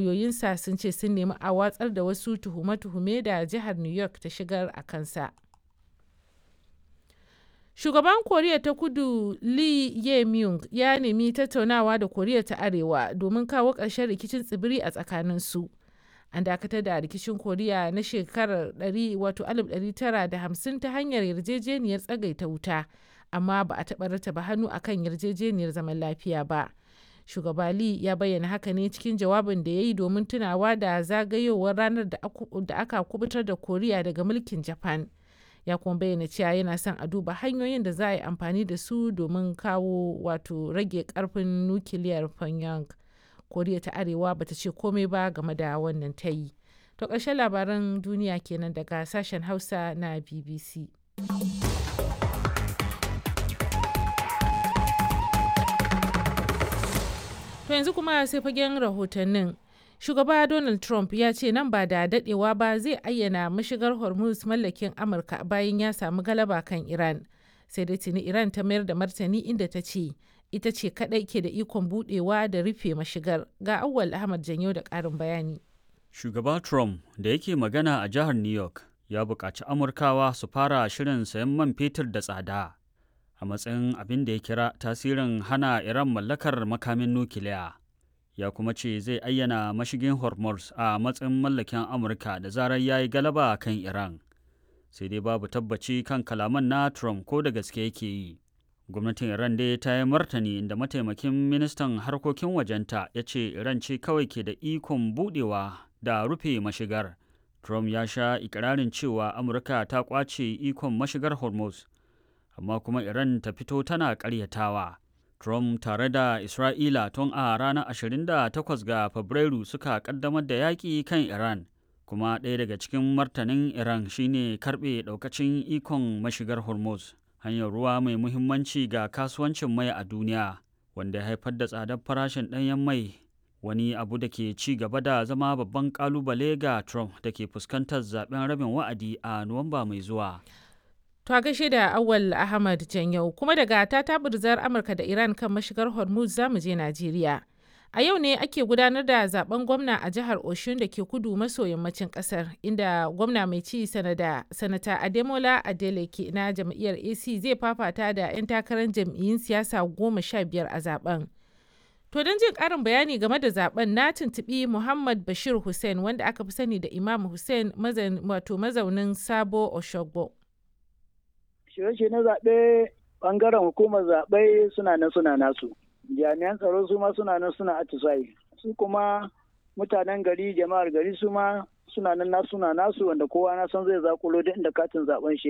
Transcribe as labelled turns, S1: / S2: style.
S1: Lauyoyinsa sun ce sun nemi a watsar da wasu tuhume-tuhume da jihar New York ta shigar a kansa. Shugaban Koriya ta Kudu Lee Jae-myung ya nemi tattaunawa da Koriya ta Arewa domin kawo ƙarshen rikicin tsibiri a tsakaninsu. An dakatar da rikicin Koriya na shekarar 1950 ta hanyar yarjejeniyar tsagaita wuta, amma ba a taɓa rattaba hannu a kan yarjejeniyar zaman lafiya ba. Shugaba Lee ya bayyana haka ne cikin jawabin da ya yi domin tunawa da zagayowar ranar da aka kubutar da Koriya daga mulkin Japan. Ya kuma bayyana cewa yana son a duba hanyoyin da za a yi amfani da su domin kawo wato rage karfin nukiliyar Pyongyang. Koriya ta Arewa bata ce komai ba game da wannan tayi. To ƙarshen labaran duniya kenan daga sashen Hausa na BBC. To yanzu kuma sai fagen rahotannin. Shugaba Donald Trump ya ce nan ba da dadewa ba zai ayyana mashigar Hormuz mallakin Amurka bayan ya samu galaba kan Iran. Sai dai tuni Iran ta mayar da martani inda ta ce ita ce kadai ke da ikon budewa da rufe mashigar. Ga Auwal Ahmad Janyo da karin bayani.
S2: Shugaba Trump da yake magana a jihar New York ya buƙaci Amurkawa su fara shirin sayan man fetur da tsada a matsayin abin da ya kira tasirin hana Iran mallakar makamin nukiliya. Ya kuma ce zai ayyana mashigin Hormuz a matsayin mallakin Amurka da zarar ya yi galaba kan Iran. Sai dai babu tabbaci kan kalaman na Trump ko da gaske yake yi. Gwamnatin Iran dai ta yi martani inda mataimakin ministan harkokin wajenta ya ce Iran ce kawai ke da ikon budewa da rufe mashigar. Trump ya sha ikirarin cewa Amurka ta kwace ikon mashigar Hormuz, amma kuma Iran ta fito tana karyatawa. Trump tare da Isra'ila tun a ranar 28 ga Fabrairu suka kaddamar da yaƙi kan Iran, kuma ɗaya daga cikin martanin Iran shine karɓe ɗaukacin ikon mashigar Hormuz, hanyar ruwa mai muhimmanci ga kasuwancin mai a duniya, wanda ya haifar da tsadar farashin ɗanyen mai, wani abu da ke ci gaba da zama babban ƙalubale ga Trump da ke fuskantar zaben rabin wa'adi a Nuwamba mai zuwa.
S1: To a gaishe da Awal Ahmad Janyau kuma daga tatabirzar Amurka da Iran kan mashigar Hormuz zamu je Najeriya. A yau ne ake gudanar da zaben gwamna a jihar Oshun da ke kudu maso yammacin kasar inda gwamna mai ci sanata Ademola Adeleke na jam'iyyar AC zai fafata da 'yan takarar jam'iyyun siyasa 15 a zaben. To don jin ƙarin bayani game da zaben na tuntuɓi Muhammad Bashir Hussein wanda aka fi sani da Imam Hussein wato mazaunin Sabo Oshogbo.
S3: Shirye-shirye na zaɓe ɓangaren hukumar zaɓe suna nan suna nasu. Jami'an tsaro su ma suna nan suna atisaye. Su kuma mutanen gari jama'ar gari su ma suna nan nasu suna nasu wanda kowa na san zai zakulo duk inda katin zaɓen shi